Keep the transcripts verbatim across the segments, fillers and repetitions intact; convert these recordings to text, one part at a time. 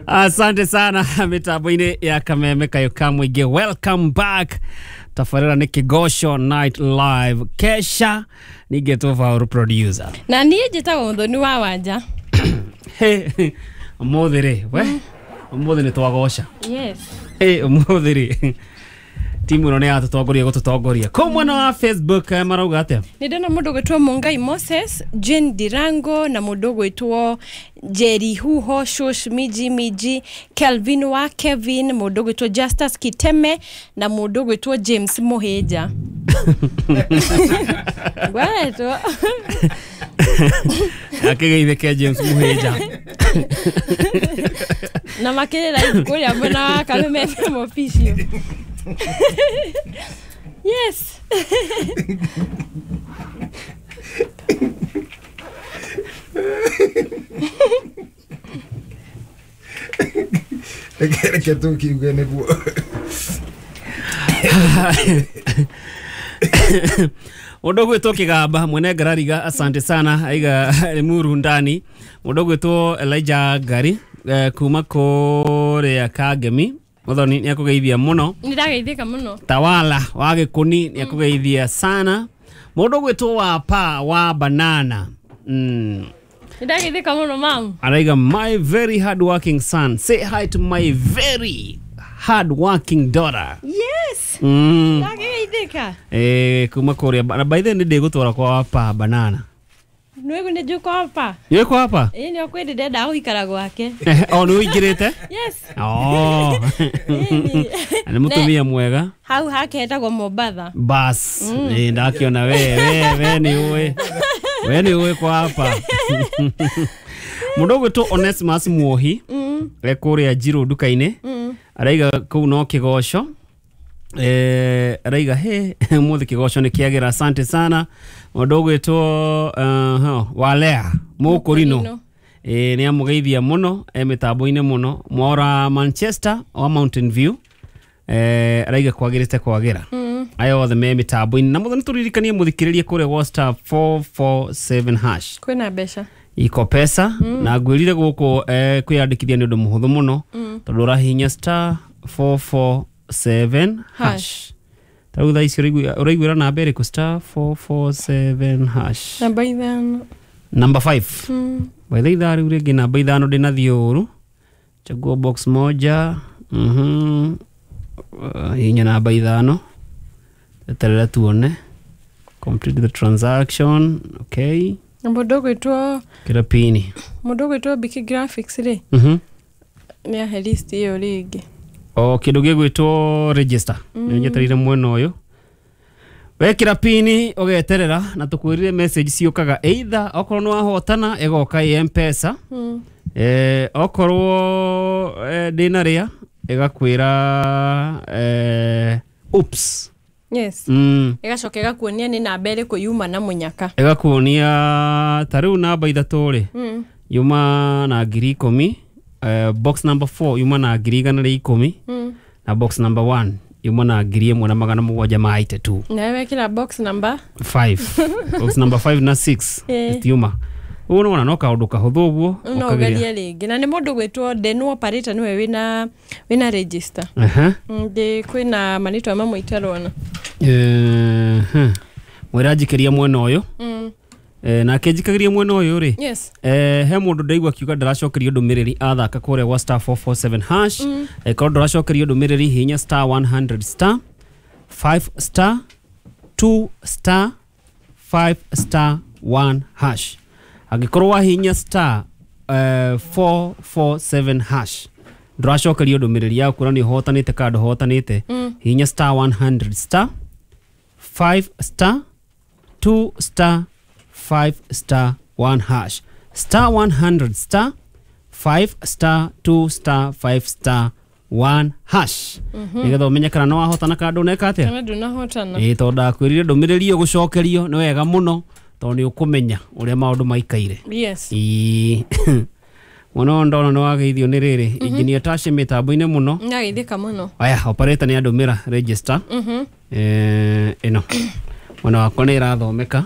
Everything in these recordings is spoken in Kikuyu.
Asante sana mitambo-inĩ ya Kameme Kayo ka Mũingĩ. Welcome back. Tabarĩra nĩ Kĩgoco Night Live. Kesha ningĩ Vaũrũ producer. Na niĩ njĩtagwo Mũthoni wa Wanja. Ũmũthĩ rĩ, we ũmũthĩ nĩ twagoca. Yes. Ũmũthĩ rĩ timu ĩno nĩ yatũtongoria gũtũtongoria. Kũu mwena wa Facebook marauga atĩa? Nĩ ndona mũndũ ũgwĩtwo Mungai Moses, Jane Dirango na mũndũ ũgwĩtwo Jerry Huho, Shush Miji Miji, Kelvin wa Kevin, mũndũ ũgwĩtwo Justus Kiteme na mũndũ ũgwĩtwo James Muhĩnja. Ngwaretwo. Akĩgeithĩke James Muhĩnja. Na makĩrĩra kũrĩa mwena wa Kameme F M official. Yes. Reke tũkiuge nĩguo. Mũndũ ũgwĩtwo Kĩgamba mwene Ngarariga, asante sana, aiga Limuru ndani. Mũndũ ũgwĩtwo Elijah Ngari kuma kũrĩa Kangemi. Muthoni nĩ akũgeithia mũno. Nĩ ndageithĩka mũno. Tawala wa Gĩkũni nĩ akũgeithia sana. Mũndũ ũgwĩtwo wa pa wa banana. Mm. Nĩ ndageithĩka mũno mam. Araiga my very hard working son. Say hi to my very hard working daughter. Yes. Mm. Ndageithĩka. Eh kuma kũrĩa na by the way nĩ ndĩgũtwara kwa wa pa banana. Nĩwe nĩ njũĩ kwa pa. Nĩũĩ kwa pa? Ĩĩ nĩ kwĩ ndĩrenda gũikara gwake. O nĩ ũingĩrĩte? Yes. Oh. Nĩ mũtumia mwega. Hau hake hetagwo Mombatha. Bas, ĩ ndakĩona we we we nĩ ũĩ. We nĩ ũĩ kwa pa. Mũndũ ũgwĩtwo Onesmus Muohi e kũrĩa Njirũ nduka-inĩ. Araiga kũu no kĩgoco. Eh araiga he mũthĩ kĩgoco nĩ kĩagĩra, asante sana. Mũndũ ũgwĩtwo uh, Walea Mũkũrino eh nĩ amũgeithia mũno e mĩtambo-inĩ mũno. Mwora Manchester wa Mountain View eh araiga kwagĩrĩte kwagĩra. Aya othe me mĩtambo-inĩ na mũthĩ nĩtũririkanie mũthikĩrĩrie kũrĩa gwa star four four seven hash. Kwĩna mbeca iko pesa na ngwĩrire gũkũ eh, kwĩyandĩkithia nĩ ũndũ mũhũthũ mũno tondũ ũrahihinya star four four seven hash. Tarĩu thaa ici ũraiguĩra namba ĩrĩkũ? Star four four seven hash. Namba ithano. Namba five. By the ithaa rĩu rĩngĩ namba ithano ndĩnathiĩ ũru. Chagua box moja. Mhm. Hihinya namba ithano. Eterera tuone. Complete the transaction. Okay. Mũndũ ũgwĩtwo Kĩra pini. Mũndũ ũgwĩtwo Biki Graphics rĩ. Mhm. Nĩ ahe list ĩyo rĩngĩ. O kĩndũ gĩgwĩtwo register. Nĩ nyetereire mwena ũyũ. Wekĩra pini ũgeterera na tũkwĩrire message ciũkaga either okorwo nĩ wahotana ĩgoka ĩ M-Pesa. Eh okorwo ndĩnarĩa ĩgakwĩra eh oops. Yes. Mm. Ĩgacoka ĩgakuonia nĩ namba ĩrĩkũ yuma na mũnyaka. Ĩgakuonia ta rĩu namba ithatũ rĩ yuma na ngiri ikũmi. Uh, box number four yuma na ngiri igana rĩa ikũmi na box number one yuma na ngiri ĩmwe na magana mũgwanja ma eighty-two. Na wekĩra box number five. Box number five na six itiuma. Ũguo nĩwona no kaũndũ kahũthũ ũguo no ũgerie rĩngĩ. Na nĩ mũndũ ũgwĩtwo Denu operator nĩwe wĩna wĩna register. Aha. Ndĩ kwĩna marĩtwa mamwe itarona. Eh mwĩra njikĩria mwena ũyũ. Eh nake njikagĩria mwena ũyũ rĩ. Yes. Eh he mũndũ ndaigua akiuga ndaracokerio ndũmĩrĩri athaka kũrĩa gwa star four four seven hash. Eh korwo ndũracokerio ndũmĩrĩri hihinya star one hundred star five star two star five star one hash. Angĩkorwo wahihinya star four four seven hash ndũracokerio ndũmĩrĩri yaku kuona nĩ ũhotanĩte kana ndũhotanĩte, hihinya star one hundred star five star two star five star one hash. Star one hundred star five star two star five star one hash. Nĩgetha ũmenye kana no wahotana kana ndũneka atĩa. Kana ndũnahotana. Ĩĩ tondũ ndakwĩrire ndũmĩrĩri ĩyo gũcokerio nĩ wega mũno tondũ nĩ ũkũmenya ũrĩa maũndũ maikaire. Yes. Ĩĩ. Mũno ndona nĩ wageithio nĩ rĩrĩ engineer Tashi mĩtambo-inĩ mũno. Nĩageithĩka mũno. Aya operator nĩ andũmĩra register. Eh ĩno. Mwena wakwa nĩ ĩrathomeka.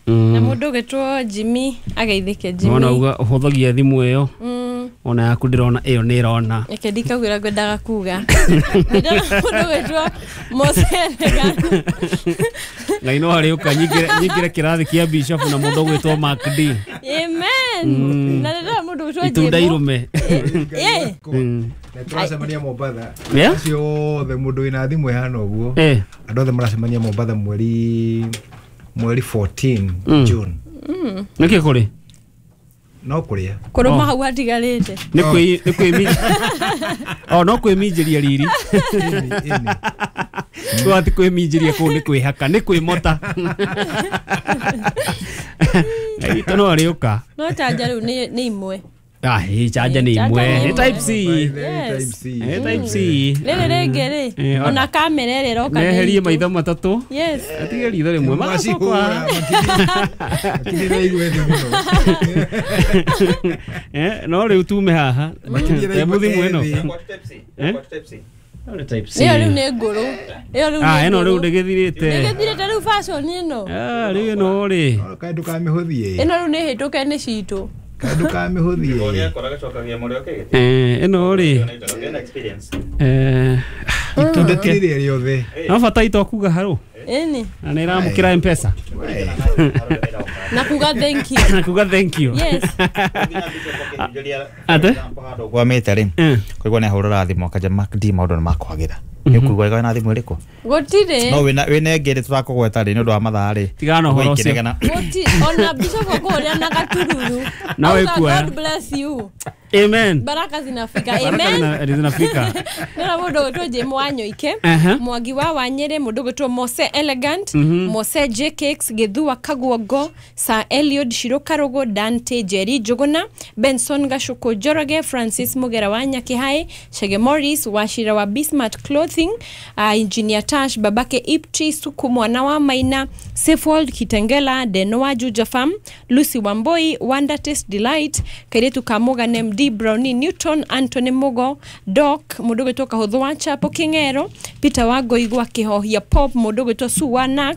Na mũndũ ũgwĩtwo Jimmy ageithĩke Jimmy. Nona uga ũhũthagia thimũ ĩyo. Ona yaku ndĩrona ĩyo nĩ ĩrona. Reke ndikaugĩra ngwendaga kuga. Ndĩrona mũndũ gwĩtwo Mose Elegant. Ngai no arĩũka nyingĩre nyingĩre kĩrathi kĩa Bishop na mũndũ ũgwĩtwo Mark D. Amen. Na ndĩrona mũndũ gwĩtwo Itunda Jemo. irume. Eh. Na tũracemania Mombatha. Yeah? Acio othe mũndũ wĩna thimũ ĩhana ũguo. Eh. Andũ othe maracemania Mombatha mweri mweri fourteen June. Nĩkĩ kũrĩ? No kũrĩa. Kũrũma hau hatigarĩte. Nĩ kwĩ nĩ kwĩ Oh no kwĩminjĩria riri. Twati kwĩminjĩria kũu nĩ kwĩhaka nĩ kwĩmota. Itũ no arĩũka. No chanja rĩu nĩ nĩ imwe. Ah, hii chanja nĩ imwe. Nĩ type C. Yes. Nĩ type C. Rĩrĩ rĩngĩ rĩ ona kamera ĩrĩa ĩroka. Meherie maitho matatũ. Yes. Atige ritho rĩmwe magacoka. Makĩria igue thĩ mũno. Eh, no rĩu tume haha. Hebu thimũ ĩno. Eh? Nĩ type C. Ĩyo rĩu nĩ ngũrũ. Ĩyo rĩu. Ah, ĩno rĩu ndĩgĩthirĩte. Ndĩgĩthirĩte rĩu fashion ĩno. Ah, rĩu ĩno rĩ. Kaĩ ndũkamĩhũthie. Ĩno rĩu nĩ hĩtũke nĩ citũ. Kaĩ ndũkamĩhũthie. Eh, ĩno rĩ. Eh, itunda ti rĩrĩa rĩothe. No bata ito kuga harũ. Ĩni. Na nĩ ĩramũkĩra M-Pesa. Na kuga thank you. Na kuga thank you. Yes. Ate? Kwa mĩte rĩ. Kũigua nĩ ahũrĩra thimũ akanja Mark D maũndũ nĩ makwagĩra. Nĩ ũkũigua ĩga na thimũ ĩrĩkũ? Gũtirĩ. No wĩna wĩna ĩngĩ rĩ tũrakũgweta rĩ nĩ ũndũ wa mathaa rĩ. Tigana ũhoro ũcio. Gũtirĩ ona Bishop akũhũrĩra na gatururu. Na wĩkuoya. God bless you. Amen. Baraka zinafika. Amen. Baraka zinafika. Nona mũndũ gwĩtwo Jim Wanyoike, Mwangi wa Wanyere, mũndũ gwĩtwo Mose Elegant, Mose J Cakes, Gĩthua Kaguongo, Sir Eliud Shiro Karugo, Dante Jerry Njuguna, Benson Gacuku Njoroge, Francis Mugera wa Nyakihai, Chege Morris, Wachira wa Bismart Clothing, uh, Engineer Tash, Babake Ipti, Suku Mwana wa Maina, Safeworld Kitengela, Denoa Juja Farm, Lucy Wamboi, Wonder Taste Delight, Kairetu Kamuga M D Brownie Newton, Anthony Mugo, Doc, mũndũ gwĩtwo Kahũthũ wa Chapo King'ero, Peter wa Ngoigwa Kĩhohia Pop, mũndũ gwĩtwo Sue wa Nax,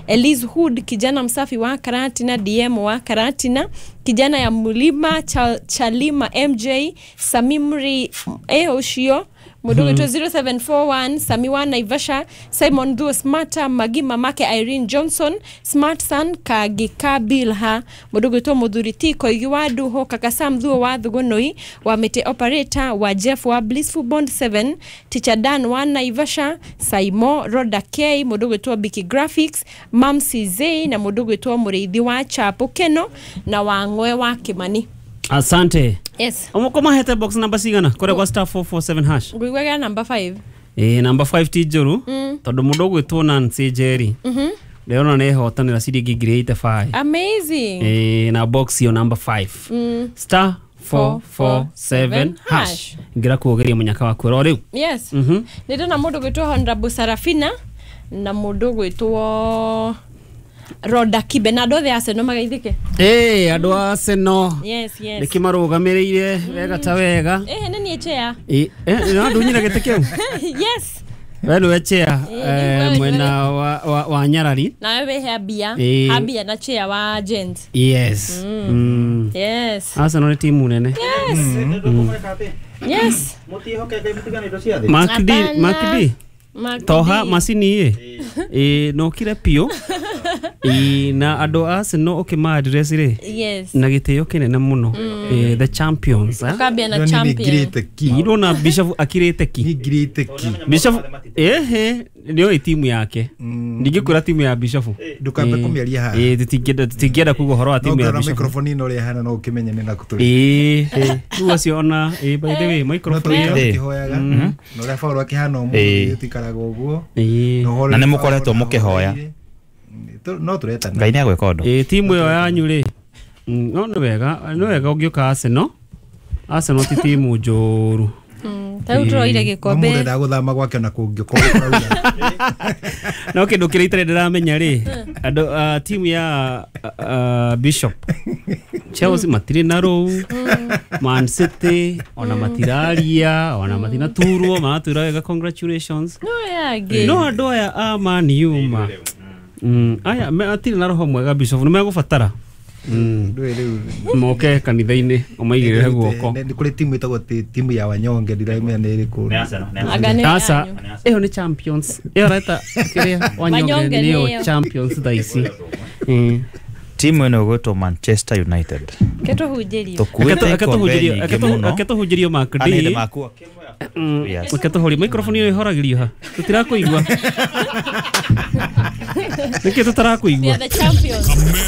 Elise Hood, kijana msafi wa Karatina, D M wa Karatina, kijana ya Mulima, Chal, Chalima M J, Samimri eh ũcio, mũndũ gwĩtwo zero seven four one, Sami wa Naivasha, Simon Thuo Smarter, Magi mamake Irene Johnson, Smart Son Kagika Bilha, mũndũ gwĩtwo Mũthuri T Koigi wa Nduho, Kaka Sam Thuo wa Thugunui, wa Mĩtĩ Operator, wa Jeff wa Blissful Bond seven, Teacher Dan wa Naivasha, Saimo Roda K, mũndũ gwĩtwo Biki Graphics, Mamsi Zay na mũndũ gwĩtwo Mũrĩithi wa Chapo Keno na Wang'we wa Kimani. Asante. Yes. Omoko mahete box number cigana kore kwa star four four seven hash. Ngũigua number five. Eh, number five ti njũru tondu mũndũ ũgwĩtwo Nancy Njeri. Mhm. Ndĩrona nĩ ehotanĩra ciringi ngiri eighty five. Amazing. Eh, na box yo number five. Mm. Star four four seven hash. Ngira kuogeria munyaka waku ro rĩu. Yes. Mhm. Nĩ ndona mũndũ ũgwĩtwo Honorable Sarafina na mũndũ ũgwĩtwo Roda Kibe na andũ othe a Arsenal magaithĩke. Eh, andũ a Arsenal. Yes, yes. Nĩkĩmarũgamĩrĩire wega ta wega. Eh, nĩ niĩ chair. Eh, no ndunyire gĩtĩ kĩu. Yes. We nĩwe chair eh, mwena wa, wa, wa Nyarari. Nawe wĩ Habia. Habia na chair wa Gents. Yes. Mm. Mm. Yes. Arsenal nĩ timu nene. Yes. Mm. Yes. Mark D, Mark D. Mark Toha D. macini ĩ. Ĩ no kire piũ. Ĩ na andũ a Arsenal ũkĩma address rĩ. Yes. Na gĩtĩo kĩnene mũno. Eh, the champions. Eh? Ũkambia na champion. Ngirĩte ki. Irona Bishop akirĩte ki. Ngirĩte ki. Bishop ehe nĩoĩ timu yake. Ndingĩkwĩra timu ya Bishop. Ndũkambe kũmĩaria haha. Ĩ tũtingĩenda tũtingĩenda kuga ũhoro wa timu ya No Bishop. microphone ĩno ũrĩa ĩhana no ũkĩmenye nĩ nakũ tũrĩ. Ĩ rĩu acio ona ĩ by the way No microphone tũrĩ ĩyo. tũkĩhoyaga. Na ũrĩa Paul akĩhana ũmũthĩ tũikaraga ũguo. Ĩ Na nĩ mũkoretwo mũkĩhoya. No tũretana. Ngai nĩ agwĩka ũndũ. Ĩ timu ĩyo yanyu rĩ. No nĩ wega nĩ wega ũngĩũka Arsenal. Arsenal ti timu njũru. Ta rĩu tũroire gĩkombe. Mũndũ endaga gũthama gwake ona kũngĩkorwo kũraura. No kĩndũ kĩrĩa itarĩ ndĩramenya rĩ andũ timu ya Bishop Chelsea matirĩ na rũu, Man City ona matiraria ona matinaturwo maratwĩra wega congratulations. No yangĩ. No andũ aya a Man U ma. Mm, aya matirĩ na roho mwega Bishop nĩ megũbatara. Ndũĩ rĩu Moke kanitha-inĩ ũmaigĩrĩre guoko. Nĩ kũrĩ timu ĩtagwo ti- timu ya wanyonge, ndiramenya nĩ ĩrĩkũ. Anga nĩ Aca, yanyu. ĩyo nĩ Champions. Ĩyo reta kĩrĩa Wanyonge Wanyonge nĩyo nĩyo. Champions thaa ici. Mm. Timu ĩno ĩgwĩtwo Manchester United. Ketũhunjĩrie. Tũkuĩte ikombe nyingĩ mũno. Aketũhunjĩrio Mark D. Anĩ makua Mm, Yes. aketũhũria microphone ĩyo ĩhoragĩrio ha tũtirakũigua, nĩkĩ We tũtarakũigua? are the champions.